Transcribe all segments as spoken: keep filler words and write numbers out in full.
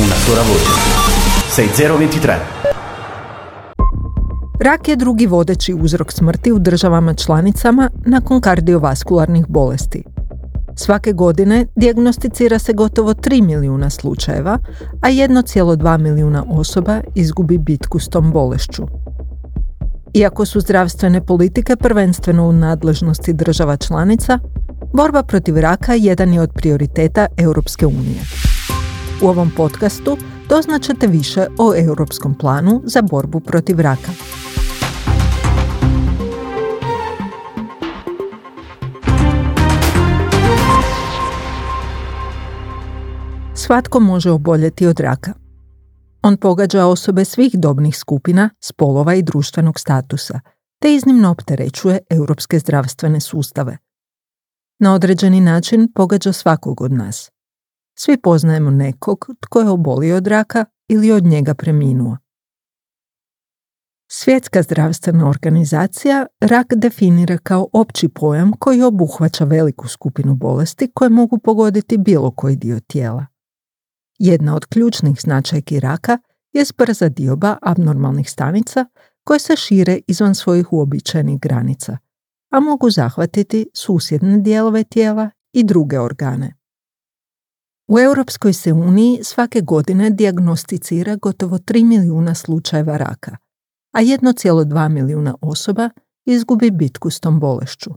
Una sola voce. sei zero ventitré. Rak je drugi vodeći uzrok smrti u državama članicama nakon kardiovaskularnih bolesti. Svake godine dijagnosticira se gotovo tri milijuna slučajeva, a jedan cijela dva milijuna osoba izgubi bitku s tom bolešću. Iako su zdravstvene politike prvenstveno u nadležnosti država članica, borba protiv raka jedan je od prioriteta Europske unije. U ovom podcastu doznat ćete više o Europskom planu za borbu protiv raka. Svatko može oboljeti od raka. On pogađa osobe svih dobnih skupina, spolova i društvenog statusa, te iznimno opterećuje europske zdravstvene sustave. Na određeni način pogađa svakog od nas. Svi poznajemo nekog tko je obolio od raka ili od njega preminuo. Svjetska zdravstvena organizacija rak definira kao opći pojam koji obuhvaća veliku skupinu bolesti koje mogu pogoditi bilo koji dio tijela. Jedna od ključnih značajki raka je brza dioba abnormalnih stanica koje se šire izvan svojih uobičajenih granica, a mogu zahvatiti susjedne dijelove tijela i druge organe. U Europskoj se uniji svake godine dijagnosticira gotovo tri milijuna slučajeva raka, a jedan cijela dva milijuna osoba izgubi bitku s tom bolešću.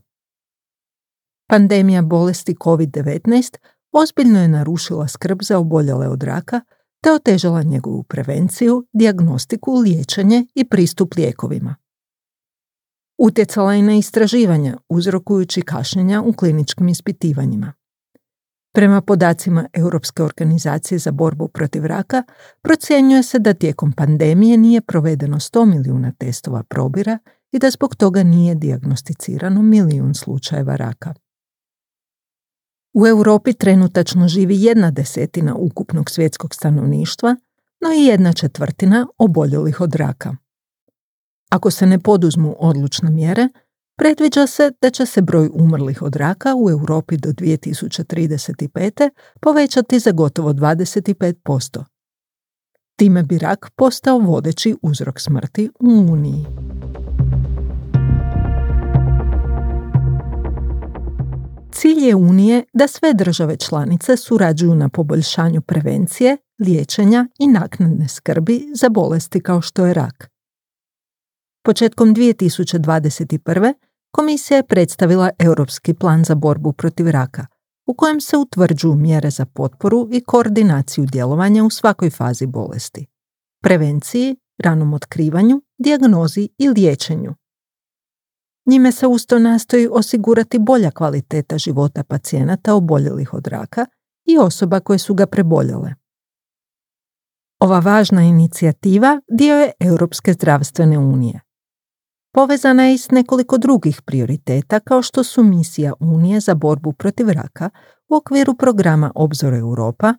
Pandemija bolesti covid devetnaest ozbiljno je narušila skrb za oboljele od raka te otežala njegovu prevenciju, dijagnostiku, liječenje i pristup lijekovima. Utjecala je na istraživanja, uzrokujući kašnjenja u kliničkim ispitivanjima. Prema podacima Europske organizacije za borbu protiv raka, procjenjuje se da tijekom pandemije nije provedeno sto milijuna testova probira i da zbog toga nije dijagnosticirano milijun slučajeva raka. U Europi trenutačno živi jedna desetina ukupnog svjetskog stanovništva, no i jedna četvrtina oboljelih od raka. Ako se ne poduzmu odlučne mjere, predviđa se da će se broj umrlih od raka u Europi do dvije tisuće trideset pete povećati za gotovo dvadeset pet posto. Time bi rak postao vodeći uzrok smrti u Uniji. Cilj je Unije da sve države članice surađuju na poboljšanju prevencije, liječenja i naknadne skrbi za bolesti kao što je rak. Početkom dvije tisuće dvadeset prve Komisija je predstavila Europski plan za borbu protiv raka, u kojem se utvrđuju mjere za potporu i koordinaciju djelovanja u svakoj fazi bolesti, prevenciji, ranom otkrivanju, dijagnozi i liječenju. Njime se usto nastoji osigurati bolja kvaliteta života pacijenata oboljelih od raka i osoba koje su ga preboljele. Ova važna inicijativa dio je Europske zdravstvene unije. Povezana je i s nekoliko drugih prioriteta kao što su misija Unije za borbu protiv raka u okviru programa Obzor Europa,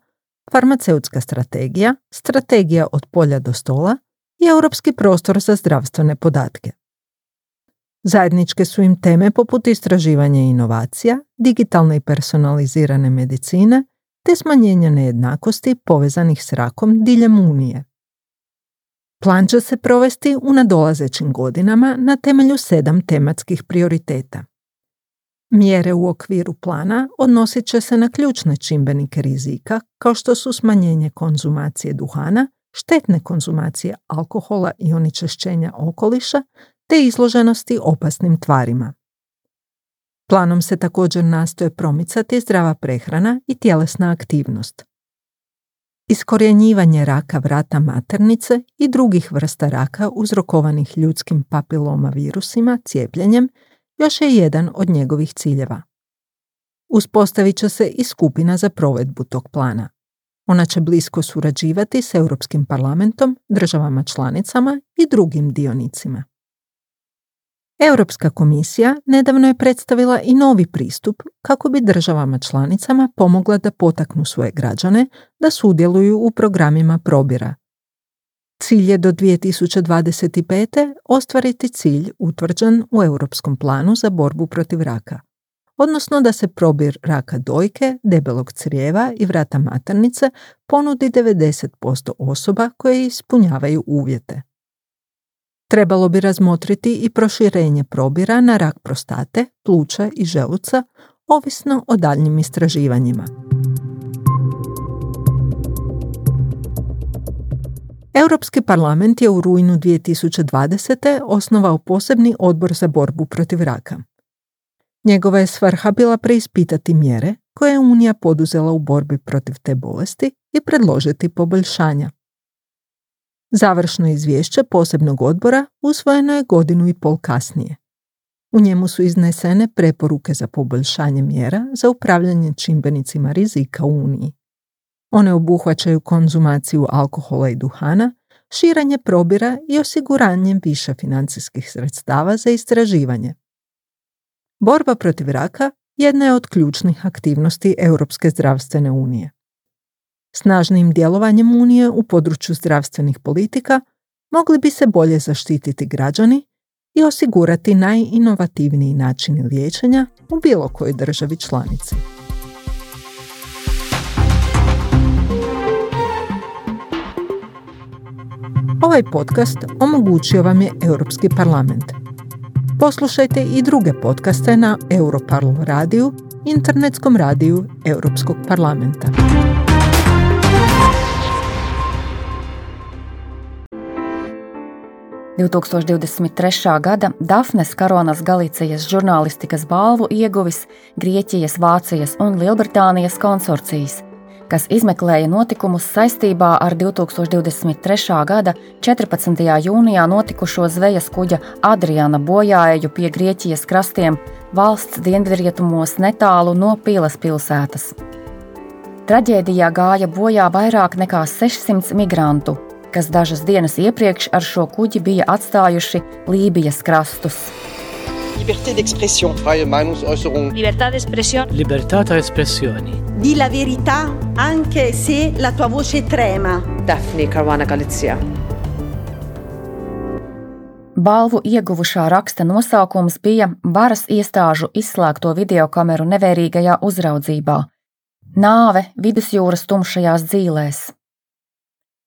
farmaceutska strategija, strategija od polja do stola i europski prostor za zdravstvene podatke. Zajedničke su im teme poput istraživanja i inovacija, digitalne i personalizirane medicine te smanjenja nejednakosti povezanih s rakom diljem Unije. Plan će se provesti u nadolazećim godinama na temelju sedam tematskih prioriteta. Mjere u okviru plana odnosit će se na ključne čimbenike rizika kao što su smanjenje konzumacije duhana, štetne konzumacije alkohola i onečišćenja okoliša te izloženosti opasnim tvarima. Planom se također nastoje promicati zdrava prehrana i tjelesna aktivnost. Iskorjenjivanje raka vrata maternice i drugih vrsta raka uzrokovanih ljudskim papiloma virusima cijepljenjem još je jedan od njegovih ciljeva. Uspostavit će se i skupina za provedbu tog plana. Ona će blisko surađivati s Europskim parlamentom, državama članicama i drugim dionicima. Europska komisija nedavno je predstavila i novi pristup kako bi državama članicama pomogla da potaknu svoje građane da sudjeluju u programima probira. Cilj je do dvije tisuće dvadeset pete ostvariti cilj utvrđen u Europskom planu za borbu protiv raka, odnosno da se probir raka dojke, debelog crijeva i vrata maternice ponudi devedeset posto osoba koje ispunjavaju uvjete. Trebalo bi razmotriti i proširenje probira na rak prostate, pluća i želuca, ovisno o daljnjim istraživanjima. Europski parlament je u rujnu dvije tisuće dvadesete osnovao posebni odbor za borbu protiv raka. Njegova je svrha bila preispitati mjere koje je Unija poduzela u borbi protiv te bolesti i predložiti poboljšanja. Završno izvješće posebnog odbora usvojeno je godinu i pol kasnije. U njemu su iznesene preporuke za poboljšanje mjera za upravljanje čimbenicima rizika u Uniji. One obuhvaćaju konzumaciju alkohola i duhana, širenje probira i osiguranje više financijskih sredstava za istraživanje. Borba protiv raka jedna je od ključnih aktivnosti Europske zdravstvene unije. Snažnim djelovanjem Unije u području zdravstvenih politika mogli bi se bolje zaštititi građani i osigurati najinovativniji načini liječenja u bilo kojoj državi članici. Ovaj podcast omogućio vam je Europski parlament. Poslušajte i druge podcaste na Europarl radiju, internetskom radiju Europskog parlamenta. divtūkstoš divdesmit trešā gada Dafnes Karuanas Galicijas žurnālistikas balvu ieguvis Grieķijas, Vācijas un Lielbritānijas konsorcijs, kas izmeklēja notikumus saistībā ar divtūkstoš divdesmit trešā gada četrpadsmitajā jūnijā notikušo zvejas kuģa Adriana bojāeju pie Grieķijas krastiem valsts dienvidrietumos netālu no Pilas pilsētas. Traģēdijā gāja bojā vairāk nekā sešsimts migrantu, kas dažas dienas iepriekš ar šo kuģi bija atstājuši Lībijas krastus. Liberté d'expression. Freie Meinungsäußerung. Libertà d'espressione. Libertà ta' espressioni. Di la verità anche se la tua voce trema. Daphne Caruana Galizia. Balvu ieguvušā raksta nosaukums bija Varas iestāžu izslēgto videokameru nevērīgajā uzraudzībā. Nāve vidusjūras tumšajās dzīlēs.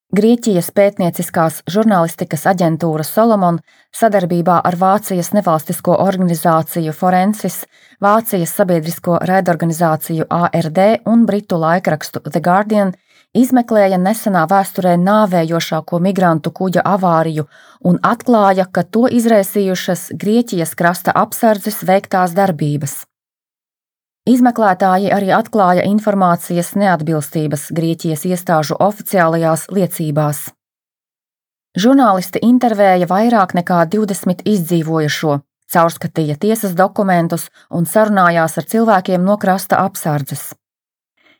Grieķijas pētnieciskās žurnālistikas aģentūra Solomon sadarbībā ar Vācijas nevalstisko organizāciju Forensis, Vācijas sabiedrisko raidorganizāciju A R D un britu laikrakstu The Guardian izmeklēja nesenā vēsturē nāvējošāko migrantu kuģa avāriju un atklāja, ka to izraisījušas Grieķijas krasta apsardzes veiktās darbības. Izmeklētāji arī atklāja informācijas neatbilstības Grieķijas iestāžu oficiālajās liecībās. Žurnālisti intervēja vairāk nekā divdesmit izdzīvojušo, caurskatīja tiesas dokumentus un sarunājās ar cilvēkiem no krasta apsardzes.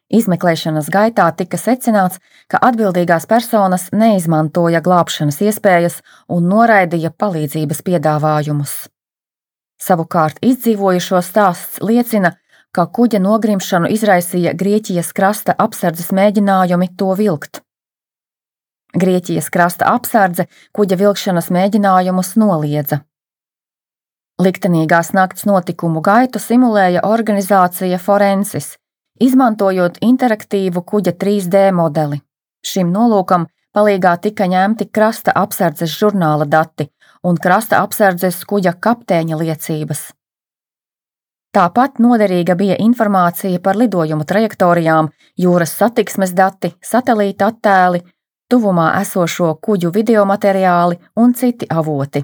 Izmeklēšanas gaitā tika secināts, ka atbildīgās personas neizmantoja glābšanas iespējas un noraidīja palīdzības piedāvājumus. Savukārt izdzīvojušo stāsts liecina, ka kuģa nogrimšanu izraisīja Grieķijas krasta apsardzes mēģinājumi to vilkt. Grieķijas krasta apsardze kuģa vilkšanas mēģinājumus noliedza. Liktenīgās nakts notikumu gaitu simulēja organizācija Forensis, izmantojot interaktīvu kuģa trīs D modeli. Šim nolūkam palīgā tika ņemti krasta apsardzes žurnāla dati un krasta apsardzes kuģa kapteiņa liecības. Tāpat noderīga bija informācija par lidojumu trajektorijām, jūras satiksmes dati, satelīta attēli, tuvumā esošo kuģu videomateriāli un citi avoti.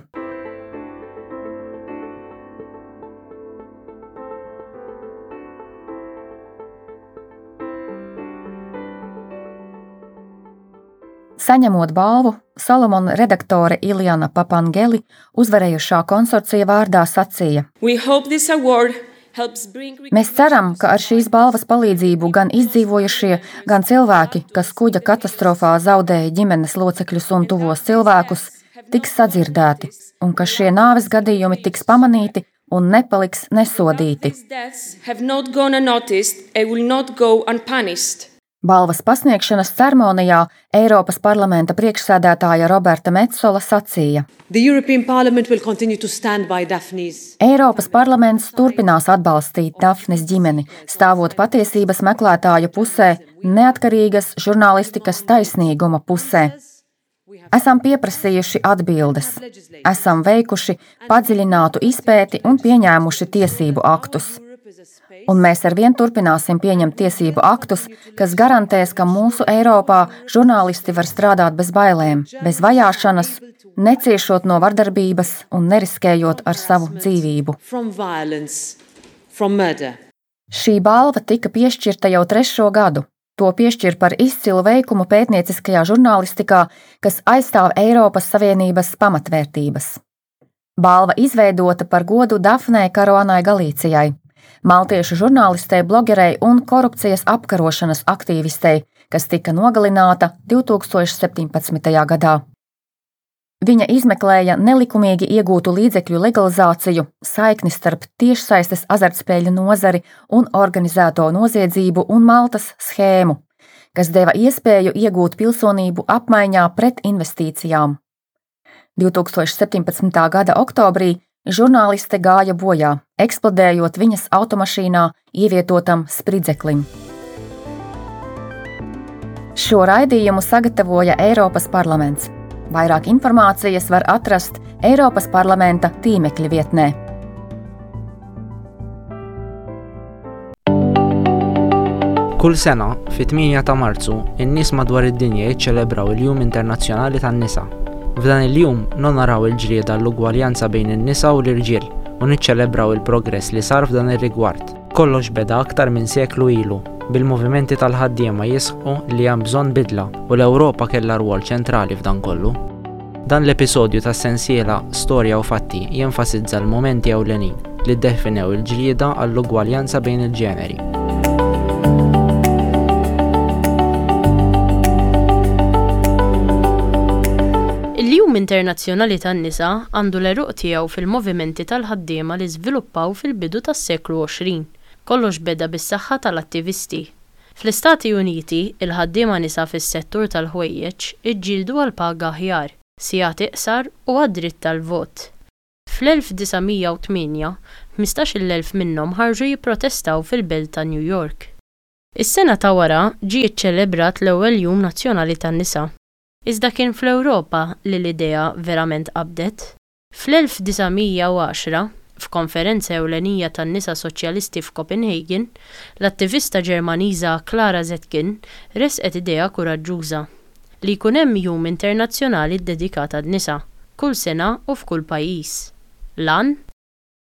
Saņemot balvu, Solomon redaktore Iliana Papangeli uzvarējušā konsorcija vārdā sacīja: We hope this award helps bring Mēs ceram, ka ar šīs balvas palīdzību gan izdzīvojušie, gan cilvēki, kas kuģa katastrofā zaudēja ģimenes locekļus un tuvos cilvēkus, tiks sadzirdēti, un ka šie nāves gadījumi tiks pamanīti un nepaliks nesodīti. These deaths have not gone unnoticed and will not go unpunished. Balvas pasniegšanas ceremonijā Eiropas parlamenta priekšsēdētāja Roberta Metsola sacīja: Eiropas parlaments turpinās atbalstīt Dafnes ģimeni, stāvot patiesības meklētāju pusē, neatkarīgas žurnālistikas taisnīguma pusē. Esam pieprasījuši atbildes, esam veikuši padziļinātu izpēti un pieņēmuši tiesību aktus. Un mēs arvien turpināsim pieņemt tiesību aktus, kas garantēs, ka mūsu Eiropā žurnālisti var strādāt bez bailēm, bez vajāšanas, neciešot no vardarbības un neriskējot ar savu dzīvību. Šī balva tika piešķirta jau trešo gadu. To piešķir par izcilu veikumu pētnieciskajā žurnālistikā, kas aizstāv Eiropas Savienības pamatvērtības. Balva izveidota par godu Dafnei Karuanai Galīcijai, maltiešu žurnālistei, blogerei un korupcijas apkarošanas aktīvistei, kas tika nogalināta divtūkstoš septiņpadsmitajā gadā. Viņa izmeklēja nelikumīgi iegūtu līdzekļu legalizāciju, saikni starp tiešsaistes azartspēļu nozari un organizēto noziedzību un Maltas schēmu, kas deva iespēju iegūt pilsonību apmaiņā pret investīcijām. divtūkstoš septiņpadsmitā gada oktobrī žurnāliste gāja bojā, eksplodējot viņas automašīnā ievietotam spridzeklim. Šo raidījumu sagatavoja Eiropas parlaments. Vairāk informācijas var atrast Eiropas parlamenta tīmekļa vietnē. Kull sena, fit-tmienja ta' Marzu, in-nies madwar id-dinja jiċċelebraw il-Jum Internazzjonali tan-Nisa. F'dan il-jum nonoraw il-ġlieda l-ugwaljanza bejn in-nisa u l-irġiel u niċċelebraw il-progress li sar f'dan ir-rigward. Kollox beda aktar minn seklu ilu, bil-movimenti tal-ħaddiema jisħqu li hemm bżonn bidla u l-Ewropa kellha rwol ċentrali f'dan kollu. Dan l-episodju tas-sensiela Storja u Fatti jenfasizza l-momenti ewlenin li ddefinew il-ġlieda għall-ugwaljanza bejn il-ġeneri. Il-Jum Internazzjonali tan-Nisa għandu l-għeruq tiegħu fil-movimenti tal-ħaddiema li żviluppaw fil-bidu tas-seklu għoxrin. Kollox beda bis-saħħa tal-attivisti. Fl-Istati Uniti, il-ħaddiema nisa fis-settur tal-ħwejjeġ iġġieldu għal paga aħjar, sigħat iqsar u għad-dritt tal-vot. Fl-elf disa' mija u tmienja, ħmistax-il elf minnhom ħarġu jipprotestaw fil-belt ta' New York. Is-sena ta' wara ġie ċċelebrat l-ewwel Jum Nazzjonali tan-Nisa. Iżda kien fl-Ewropa li l-idea verament qabdet. Fl-elf disa' mija u għaxra, f'konferenza ewlenija tan-nisa soċjalisti f'Copenhagen, l-attivista Ġermaniża Clara Zetkin resqet idea kuraġġuża li jkun hemm jum internazzjonali ddedikat għan-nisa, kull sena u f'kull pajjiż. Lan?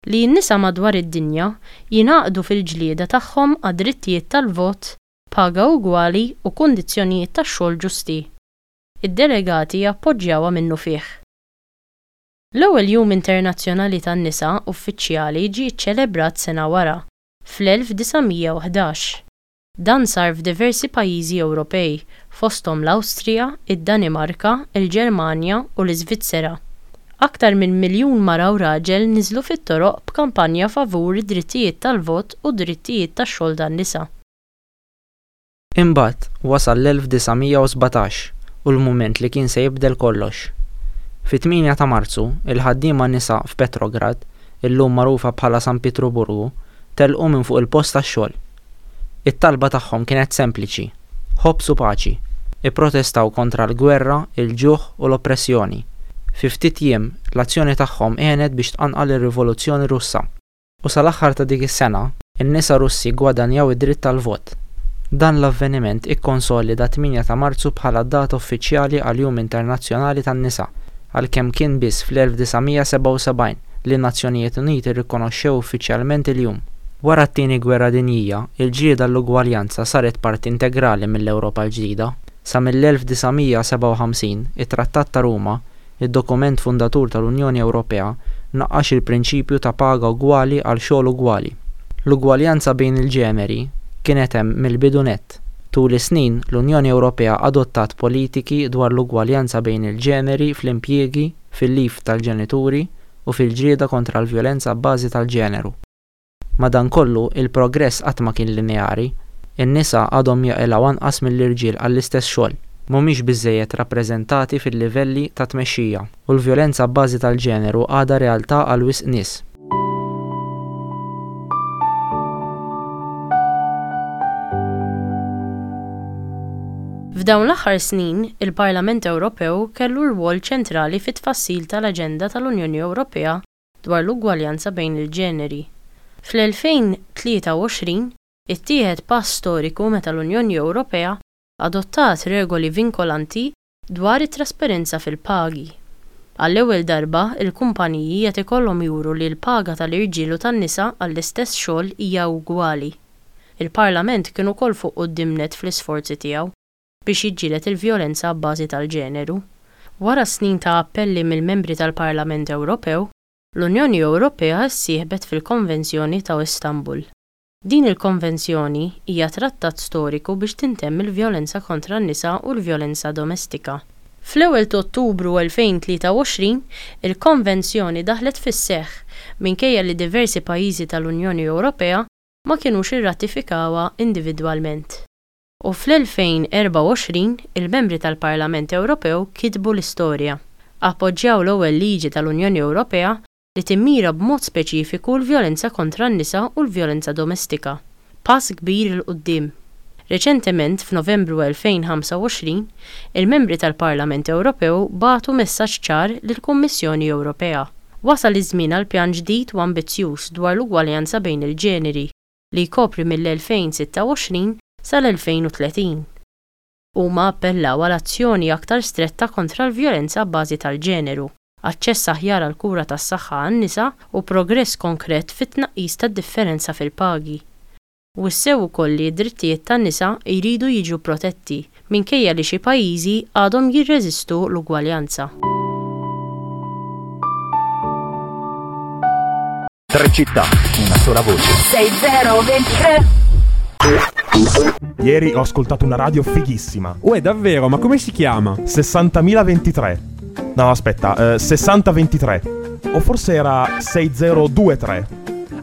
Li n-nisa madwar id-dinja jingħaqdu fil-ġlieda tagħhom għad-drittijiet tal-vot, paga ugwali u kundizzjonijiet tax-xogħol ġusti. Id-delegati appoġġjawha minnufih. L-ewwel Jum Internazzjonali tan-Nisa uffiċjali ġie ċċelebrat sena wara, fl-elf disa' mija u ħdax. Dan sar f'diversi pajjiżi Ewropej, fosthom l-Awstrija, id-Danimarka, il-Ġermanja u l-Iżvizzera. Aktar minn miljun mara u raġel niżlu fit-toroq b'kampanja favur id-drittijiet tal-vot u d-drittijiet tax-xogħol tan-nisa. Imbagħad wasal l-elf disa' mija u sbatax u l-mument li kien se jibdel kollox. Fit-tmienja ta' Marzu, il-ħaddiema nisa f'Petrograd, illum magħrufa bħala San Pietruburgu, telqu minn fuq il-post tax-xogħol. It-talba tagħhom kienet sempliċi: ħobż u paċi. Ipprotestaw kontra l-gwerra, il-ġuħ u l-oppressjoni. Fi ftit jiem, l-azzjoni tagħhom għenet biex tqanqal ir-Rivoluzzjoni Russa. U sal-aħħar ta' dik is-sena, in-nisa Russi gwadanjaw id-dritt tal-vot. Dan l-avveniment ikkonsolida tmienja ta' Marzu bħala data uffiċjali għal-Jum Internazzjonali tan-Nisa, għalkemm kien biss fl-elf disa' mija sebgħa u sebgħin li n-Nazzjonijiet Uniti rrikonoxxew uffiċjalment il-jum. Wara t-tieni gwerra dinjija, il-ġlieda l-ugwaljanza saret parti integrali mill-Ewropa l-ġdida. Sa mill-elf disa' mija sebgħa u ħamsin, it-Trattat ta' Ruma, id-dokument fundatur tal-Unjoni Ewropea, naqqax il-prinċipju ta' paga ugwali għal xogħol ugwali. L-ugwaljanza bejn il-ġeneri kienet hemm mill-bidu nett. Tul is-snin, l-Unjoni Ewropea adottat politiki dwar l-ugwaljanza bejn il-ġeneri fl-impjiegi, fil-lif tal-ġenituri u fil-ġlieda kontra l-vjolenza b'bażi tal-ġeneru. Madankollu, il-progress qatt ma kien lineari. In-nisa għadhom jaqilgħu anqas mill-irġiel għall-istess xogħol, mhumiex biżżejjed rappreżentati fil-livelli ta' tmexxija, u l-vjolenza b'bażi tal-ġeneru għadha realtà għal wisq nies. F'dawn l-aħħar snin, il-Parlament Ewropew kellu rwol ċentrali fit-tfassil tal-Aġenda tal-Unjoni Ewropea dwar l-ugwaljanza bejn il-ġeneri. Fl-elfejn tlieta u għoxrin, ittieħed pass storiku meta l-Unjoni Ewropea adottat regoli vinkolanti dwar it-trasparenza fil-pagi. Għall-ewwel darba, il-kumpaniji qed ikollhom juru li l-paga tal-irġiel u tan-nisa għall-istess xogħol hija ugwali. Il-Parlament kien ukoll fuq quddiem nett fl-isforzi tiegħu biex jiġġieled il-vjolenza b'bażi tal-ġeneru. Wara snin ta' appelli mill-membri tal-Parlament Ewropew, l-Unjoni Ewropea ssieħbet fil-Konvenzjoni ta' Istanbul. Din il-konvenzjoni hija trattat storiku biex tintemm il-vjolenza kontra n-nisa u l-vjolenza domestika. Fl-ewwel ta' Ottubru elfejn tlieta u għoxrin, il-konvenzjoni daħlet fis-seħħ minkejja li diversi pajjiżi tal-Unjoni Ewropea ma kinux irratifikawha individwalment. U fl-elfejn erbgħa u għoxrin, il-membri tal-Parlament Ewropew kitbu l-istorja. Appoġġjaw l-ewwel liġi tal-Unjoni Ewropea li timmira b'mod speċifiku l-vjolenza kontra n-nisa u l-vjolenza domestika. Pass kbir 'il quddiem. Reċentement, f'Novembru elfejn ħamsa u għoxrin, il-membri tal-Parlament Ewropew bagħtu messaġġ ċar lill-Kummissjoni Ewropea. Wasal iż-żmien għal pjan ġdid u ambizzjuż dwar l-ugwaljanza bejn il-ġeneri li jkopri mill-elfejn sitta u għoxrin sal-elfejn u tletin. Huma appellaw għal azzjoni aktar stretta kontra l-vjolenza b'bażi tal-ġeneru, aċċess aħjar għal kura tas-saħħa għan-nisa u progress konkret fit-tnaqqis tad-differenza fil-pagi. Wissew ukoll li d-drittijiet tan-nisa jridu jiġu protetti minkejja li xi pajjiżi għadhom jirreżistu l-ugwaljanza. Tre città, una sola voce. sei zero ventitré. Ieri ho ascoltato una radio fighissima. Uè, davvero? Ma come si chiama? sessantamila ventitré. No, aspetta, eh, sessanta ventitré. O forse era sei zero due tre.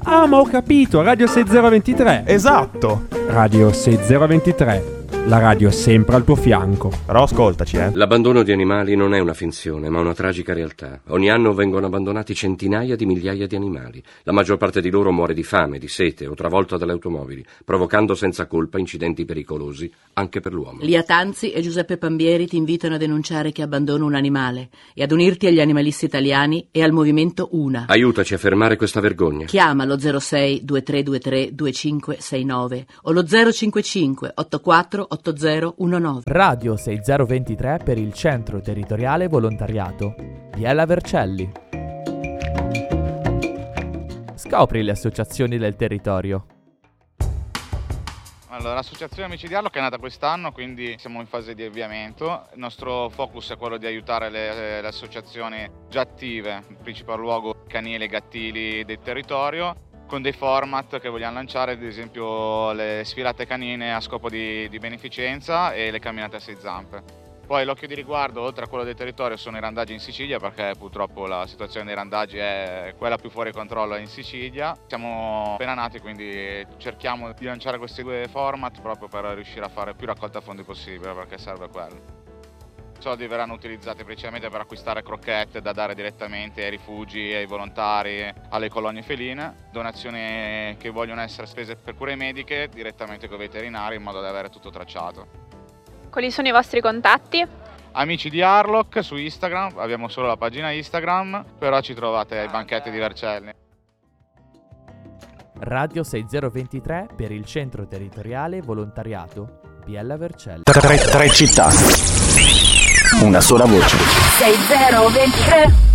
Ah, ma ho capito, Radio sei zero ventitré. Esatto. Radio sei zero ventitré, la radio sempre al tuo fianco. Però ascoltaci, eh. L'abbandono di animali non è una finzione, ma una tragica realtà. Ogni anno vengono abbandonati centinaia di migliaia di animali. La maggior parte di loro muore di fame, di sete o travolta dalle automobili, provocando senza colpa incidenti pericolosi anche per l'uomo. Lia Tanzi e Giuseppe Pambieri ti invitano a denunciare chi abbandona un animale e ad unirti agli animalisti italiani e al movimento Una. Aiutaci a fermare questa vergogna. Chiama lo zero sei due tre due tre due cinque sei nove o lo zero cinque cinque otto quattro otto zero uno nove. Radio sei zero ventitré per il Centro Territoriale Volontariato Biella Vercelli. Scopri le associazioni del territorio. Allora, l'associazione Amici di Harlock è nata quest'anno, quindi siamo in fase di avviamento. Il nostro focus è quello di aiutare le, le associazioni già attive, in principal luogo canili e gattili del territorio, con dei format che vogliamo lanciare, ad esempio le sfilate canine a scopo di, di beneficenza e le camminate a sei zampe. Poi l'occhio di riguardo, oltre a quello del territorio, sono i randaggi in Sicilia, perché purtroppo la situazione dei randaggi è quella più fuori controllo in Sicilia. Siamo appena nati, quindi cerchiamo di lanciare questi due format proprio per riuscire a fare più raccolta fondi possibile, perché serve quello. I soldi verranno utilizzati principalmente per acquistare crocchette da dare direttamente ai rifugi, ai volontari, alle colonie feline, donazioni che vogliono essere spese per cure mediche direttamente con i veterinari, in modo da avere tutto tracciato. Quali sono i vostri contatti? Amici di Harlock su Instagram, abbiamo solo la pagina Instagram, però ci trovate ai banchetti di Vercelli. Radio sei zero ventitré per il Centro Territoriale Volontariato Biella Vercelli. Tre, tre città, una sola voce. sei zero ventitré.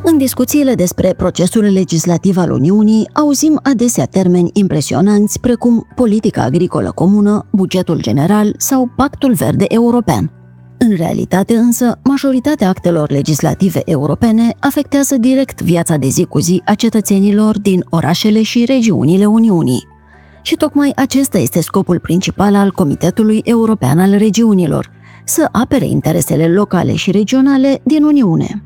În discuțiile despre procesul legislativ al Uniunii, auzim adesea termeni impresionanți precum politica agricolă comună, bugetul general sau Pactul Verde European. În realitate însă, majoritatea actelor legislative europene afectează direct viața de zi cu zi a cetățenilor din orașele și regiunile Uniunii. Și tocmai acesta este scopul principal al Comitetului European al Regiunilor, să apere interesele locale și regionale din Uniune.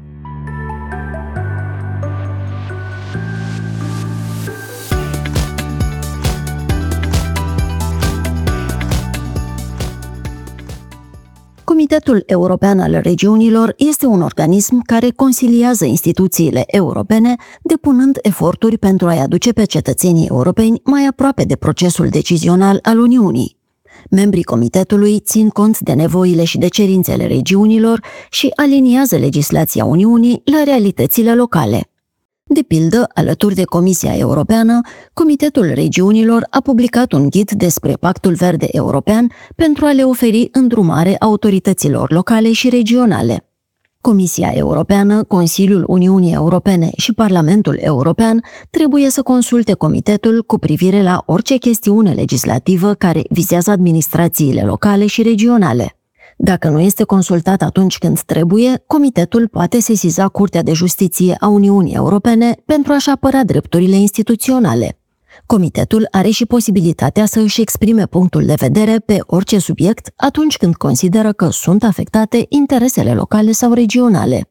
Comitetul European al Regiunilor este un organism care consiliază instituțiile europene, depunând eforturi pentru a-i aduce pe cetățenii europeni mai aproape de procesul decizional al Uniunii. Membrii comitetului țin cont de nevoile și de cerințele regiunilor și aliniază legislația Uniunii la realitățile locale. De pildă, alături de Comisia Europeană, Comitetul Regiunilor a publicat un ghid despre Pactul Verde European pentru a le oferi îndrumare autorităților locale și regionale. Comisia Europeană, Consiliul Uniunii Europene și Parlamentul European trebuie să consulte comitetul cu privire la orice chestiune legislativă care vizează administrațiile locale și regionale. Dacă nu este consultat atunci când trebuie, comitetul poate sesiza Curtea de Justiție a Uniunii Europene pentru a-și apăra drepturile instituționale. Comitetul are și posibilitatea să își exprime punctul de vedere pe orice subiect atunci când consideră că sunt afectate interesele locale sau regionale.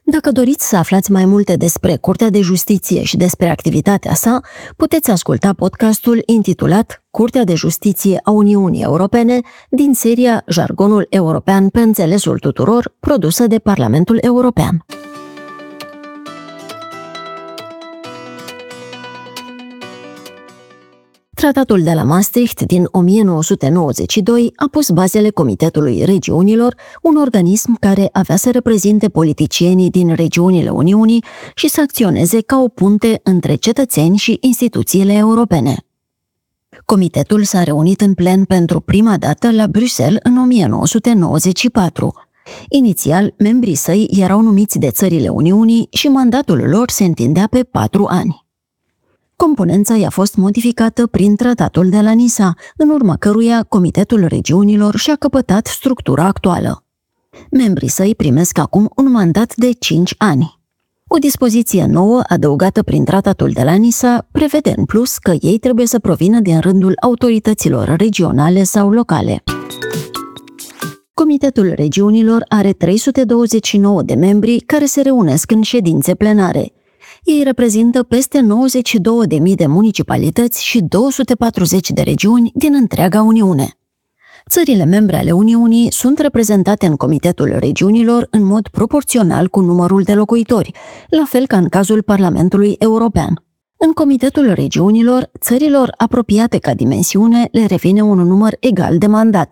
Dacă doriți să aflați mai multe despre Curtea de Justiție și despre activitatea sa, puteți asculta podcastul intitulat Curtea de Justiție a Uniunii Europene din seria Jargonul European pe înțelesul tuturor, produsă de Parlamentul European. Tratatul de la Maastricht din o mie nouă sute nouăzeci și doi a pus bazele Comitetului Regiunilor, un organism care avea să reprezinte politicienii din regiunile Uniunii și să acționeze ca o punte între cetățeni și instituțiile europene. Comitetul s-a reunit în plen pentru prima dată la Bruxelles în o mie nouă sute nouăzeci și patru. Inițial, membrii săi erau numiți de țările Uniunii și mandatul lor se întindea pe patru ani. Componența i-a fost modificată prin Tratatul de la Nisa, în urma căruia Comitetul Regiunilor și-a căpătat structura actuală. Membrii săi primesc acum un mandat de cinci ani. O dispoziție nouă, adăugată prin Tratatul de la Nisa, prevede în plus că ei trebuie să provină din rândul autorităților regionale sau locale. Comitetul Regiunilor are trei sute douăzeci și nouă de membri care se reunesc în ședințe plenare. Ei reprezintă peste nouăzeci și două de mii de municipalități și două sute patruzeci de regiuni din întreaga Uniune. Țările membre ale Uniunii sunt reprezentate în Comitetul Regiunilor în mod proporțional cu numărul de locuitori, la fel ca în cazul Parlamentului European. În Comitetul Regiunilor, țărilor apropiate ca dimensiune le revine un număr egal de mandate.